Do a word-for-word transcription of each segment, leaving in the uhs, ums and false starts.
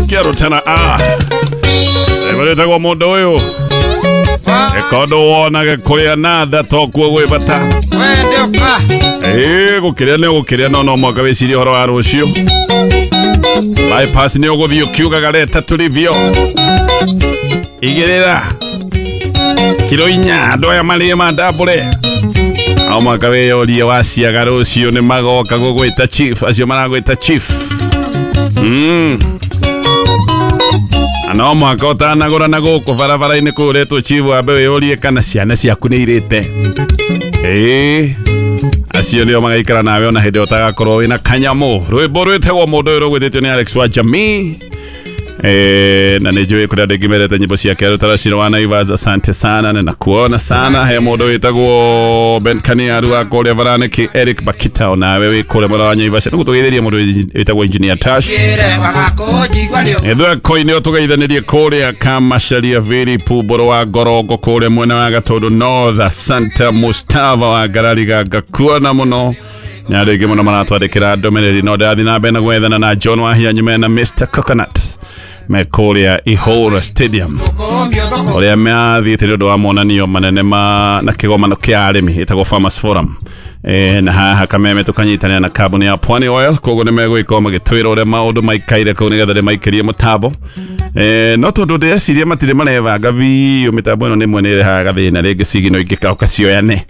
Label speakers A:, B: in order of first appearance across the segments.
A: Kĩarutana a Eberetagwo mũndũ ũyũ Ekondo wonage kũrĩa nanda tokuo gwĩ bata. Ĩĩ gũkĩrĩa nĩ ũgũkĩrĩa no no mwaka wĩcirie ũhoro wa rũciũ. Bypass nĩ ũgũthiĩ ũkiugaga reta tulivyo. Igĩrĩra kiro inya andũ aya marĩe mandambũre. Ao mwaka wĩyũrie waciaga rũciũ nĩ magoka gũgwĩta chief, acio maragwĩta chief. Mm. No mwaka ũtanagũra na gũkũ barabara-inĩ kũu ũretwo chief wambe wĩyũrie kana ciana ciaku nĩ irĩte. Ĩĩ acio nĩo magaikara nawe ona hĩndĩ ũtagakorwo wĩna kanyamũ. Rwĩmbo rwĩtagwo mũndũ ũyũ rũgwĩtĩtio nĩ Alex wa Jamii. Eh, na nĩ njũĩ kũrĩa andũ aingĩ mendete nyĩmbo ciake Rũtaraciro wa Naivas, asante sana na nakuona sana. He mũndũ wĩtagwo Ben Kaniaru wa kũrĩa Varaniki, Eric Bakita onawe wĩ kũrĩa mwena wa Naivas. Nĩ gũtũgeithĩria mũndũ wĩtagwo Engineer Tash. Ithũĩ ũtũgeithanĩrie kũrĩa Kamacharia Viri Pumbũrũ wa Ngorongo kũrĩa mwena wa Gatũndũ North. Asante Mustafa wa Ngarariga, ngakuona mũno. Nĩ andũ aingĩ mũno maratwandĩkĩra ndũmĩrĩri no ndĩrathiĩ na mbere na gwethana na John Wahianyume na Mister Coconut me kũrĩa Ihũra Stadium ũrĩa mathiĩte nĩ ũndũ wa monanio manene ma na kĩgomano kĩa arĩmi ĩtagwo Farmers Forum. E, na haha Kameme tũkanyitanĩra na kambuni ya Pwani Oil koguo nĩ megũgĩkorwo magĩtwĩra ũrĩa maũndũ maikaire kũu nĩgetha ndĩmaikĩrie mũtambo. E, no tondũ ndĩreciria matirĩ marebanga biũ mĩtambo ĩno nĩmwe nĩ ĩrehaga gathĩna rĩngĩ cigino ingĩkaũka cioyane.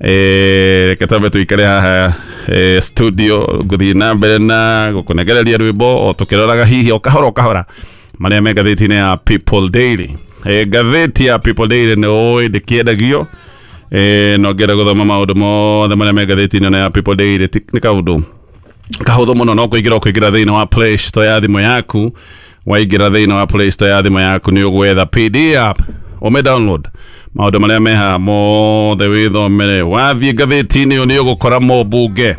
A: Eh, reke twambe tũikare haha eh, studio ngũthiĩ na mbere na gũkũnengereria rwĩmbo o tũkĩroraga hihi o kahora o kahora marĩa me ngathĩti-inĩ ya People Daily. Eh, ngathĩti ya People Daily nĩ ũĩ ndĩkĩendagio. Eh, no ngĩenda gũthoma maũndũ mothe marĩa me ngathĩti-inĩ ĩno ya People Daily nĩ kaũndũ kahũthũ mũno no kũingĩra ũkũingĩra thĩinĩ wa Play Store ya thimũ yaku. Waingĩra thĩinĩ wa Play Store ya thimũ yaku nĩ ũgwetha P D app ũme download maũndũ marĩa me haha mothe wĩthomere. Wathiĩ ngathĩti-inĩ ĩyo nĩ ũgũkora mũmbunge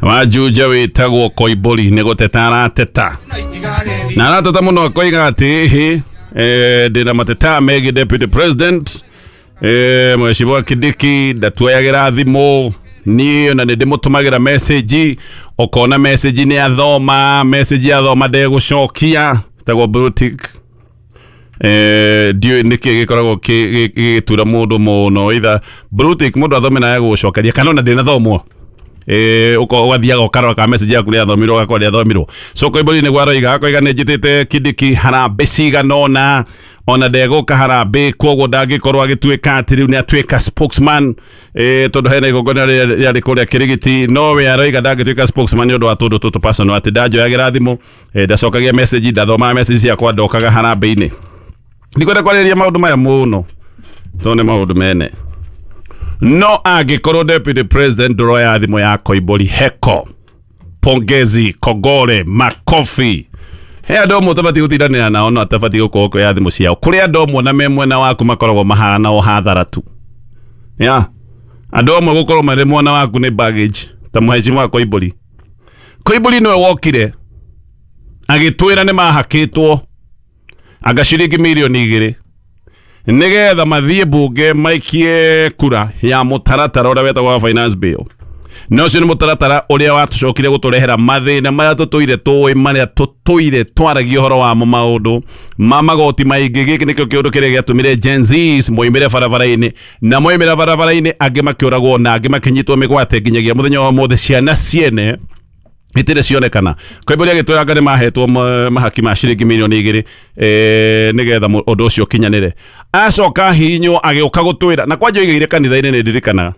A: wa Juja wĩtagwo Koimbũri nĩ gũteta arateta na arateta mũno akoiga atĩ ĩhĩ eh, ndĩna mateta megiĩ deputy president eh, Mheshimiwa Kindiki ndatuoyagĩra thimũ niĩ ona nĩ ndĩmũtũmagĩra message ũkona message nĩ athoma message athoma ndegũcokia ĩtagwo blue tick. Eh, ndiũĩ nĩkĩ gĩkoragwo gĩgĩtura mũndũ mũno either blue tick mũndũ athome na agũcokeria kana ona ndĩnathomwo. Eh, ũgathiaga ũkarora kana message yaku nĩ yathomirwo ũgakora ndĩathomirwo. So Koimbũri nĩguo aroiga akoiga nĩ njĩtĩte Kindiki harambĩ cigana ũna ona ndegũka harambĩ koguo ndangĩkorwo agĩtuĩka atĩ rĩu nĩ atuĩka spokesman eh, tondũ hena igongona rĩarĩ kũrĩa Kĩrigiti no we aroiga ndangĩtuĩka spokesman nĩ ũndũ wa tũndũ tũtũ personal atĩ ndanjoyagĩra thimũ eh, ndacokagia message ndathomaga message ciakwa ndokaga harambĩ-inĩ. Ndikwenda kwarĩrĩria maũndũ maya mũno tondũ nĩ maũndũ mene no angĩkorwo deputy president ndũroya thimũ ya Koimbũri heko pongezi kogore makofi he andũ amwe ũtabatiĩ gũtindanĩra nao no atabatiĩ gũkorwo ũkĩoya thimũ ciao. Kũrĩ andũ amwe na me mwena waku makoragwo mahana o hathara tu ya andũ amwe gũkorwo marĩ mwena waku nĩ baggage ta Mheshimiwa Koimbũri. Koimbũri nĩwe wokire agĩtwĩra nĩ mahakĩtwo anga ciringi mirioni igĩrĩ nĩgetha mathiĩ bunge maikie kura ya mũtaratara ũrĩa wetagwo wa finance bill. Na ũcio nĩ mũtaratara ũrĩa watũcokire gũtũrehera mathĩna marĩa tũtũire tũĩ marĩa tũtũire twaragia ũhoro wamo maũndũ ma magoti maingĩ. Gĩkĩ nĩkĩo kĩũndũ kĩrĩa gĩatũmire Gen Zs moimĩre barabara-inĩ na moimĩra barabara-inĩ angĩ makĩũragwo na angĩ makĩnyitwo mĩgwate nginyagia mũthenya wa ũmũthĩ ciana ciene itirĩ cionekana. Koimbũri agĩtwĩra anga nĩ mahetwo mahaki ma ciringi mirioni igĩrĩ eh, nĩgetha ũndũ ũcio ũkinyanĩre. Acoka ahihinywo agĩũka gũtwĩra na kwanja oigĩire kanitha-inĩ nĩ ndirikanaga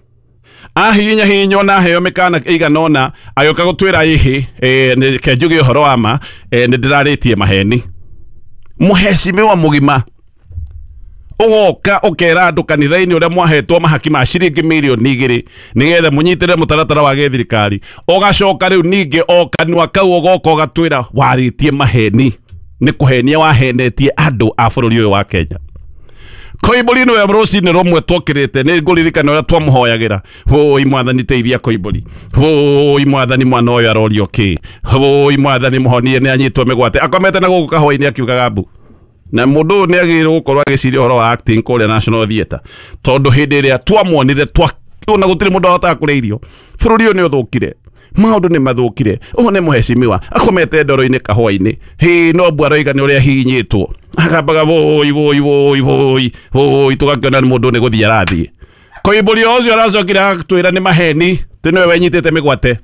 A: ahihinya hihinywo na aheo mĩkana ĩigana ũna agĩũka gũtwĩra ĩhĩ eh, reke njuge ũhoro wa ma eh, nĩ ndĩrarĩtie maheni. Mũhecimiwa mũgima ũgoka ũkera andũ kanitha-inĩ ũrĩa mwahetwo mahaki ma ciringi mirioni igĩrĩ nĩgetha mũnyitĩrĩre mũtaratara wa gĩthirikari ũgacoka rĩu ningĩ o kanua kau ũgoka ũgatwĩra warĩtie maheni nĩ kũhenia wahenetie andũ a bũrũri ũyũ wa Kenya. Koimbũri nĩwe rũcinĩ rũmwe twokĩrĩte nĩ ngũririkana ũrĩa twamũhoyagĩra hũi mwathani teithia Koimbũri hũi mwathani mwana ũyũ arorio kĩ hũi mwathani mũhonie nĩ anyitwo mĩgwate akomete na gũkũ kahũa-inĩ akiugaga mbu. Na mũndũ ũyũ nĩ agĩrĩirwo gũkorwo agĩciria ũhoro wa acting kũrĩa National Theatre tondũ hĩndĩ ĩrĩa twamuonire twa ona gũtirĩ mũndũ ahotaga kũrĩa irio bũrũri ũyũ nĩ ũthũkire. Maũndũ nĩ mathũkire. Ũũ nĩ mũhecimiwa akomete ndoro-inĩ kahũa-inĩ. Hĩ no mbwa aroiga nĩ ũrĩa ahihinyĩtwo. Agambaga woi woi woi woi woi, tũgakĩona nĩ mũndũ nĩ gũthiĩ arathiĩ. Koimbũri ũcio aracokire agatwĩra nĩ maheni, tĩ nĩwe wenyitĩte mĩgwate.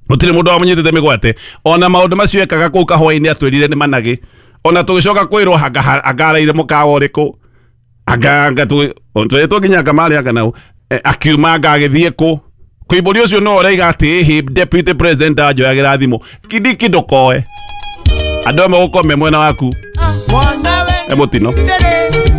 A: Gũtirĩ mũndũ wamũnyitĩte mĩgwate. Ona maũndũ macio ekaga kũu kahũa-inĩ atwĩrire nĩ managĩ. Ona tũgĩcoka kwĩrwo anga anga araire mũkawa ũrĩkũ. Anga anga twĩtwo nginya anga marĩ anga nau. Akiuma anga agĩthiĩ kũ. Koimbũri ũcio no ũraiga atĩ ĩhĩ deputy president anjoyagĩra thimũ. Kindiki ndũkoe. Andũ amwe gũkorwo me mwena waku. E mũtino.